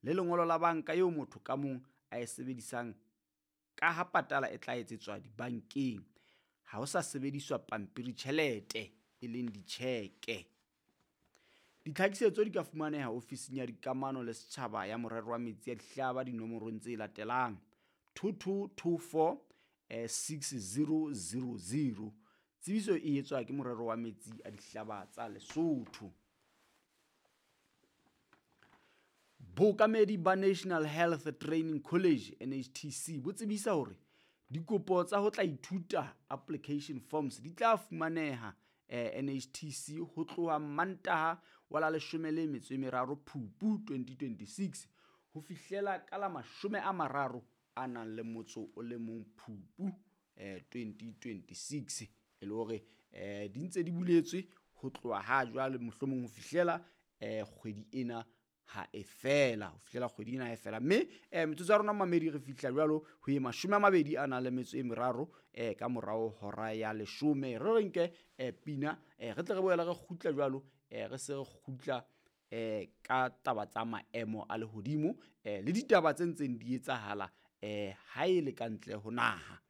le lengolo la banka eo motho ka mong a e sebedisang ka ha patala e tla etsetswa dibankeng. Ha ho sa sebediswa pampiri tjhelete e leng ditjheke. Ditlhakisetso di ka fumaneha ofising ya dikamano le setjhaba ya Morero wa Metsi a Dihlaba dinomorong tse latelang 2224 6000. Tsebiso e etswa ke Morero wa Metsi a Dihlaba tsa Lesotho. Bookamedi ba National Health Training College NHTC bo tsebisa hore dikopo tsa ho tla ithuta application forms di tla fumaneha NHTC ho tloha Mantaha wa la 13 Phupu 2026 ho fihlela ka la 31 Phupu 2026. E le hore di ntse di buletswe ho tloha ha jwale mohlomong ho fihlela kgwedi ena ha e fela, ho fihlela kgwedi ena ha e fela. Mme metsotso ya rona mamedi re fihla jwalo ho ye 23 ka morao hora ya 10. Re re nke pina re tle re boele re kgutla jwalo re se re kgutla ka taba tsa maemo a lehodimo le ditaba tse ntseng di etsahala ha e le ka ntle ho naha.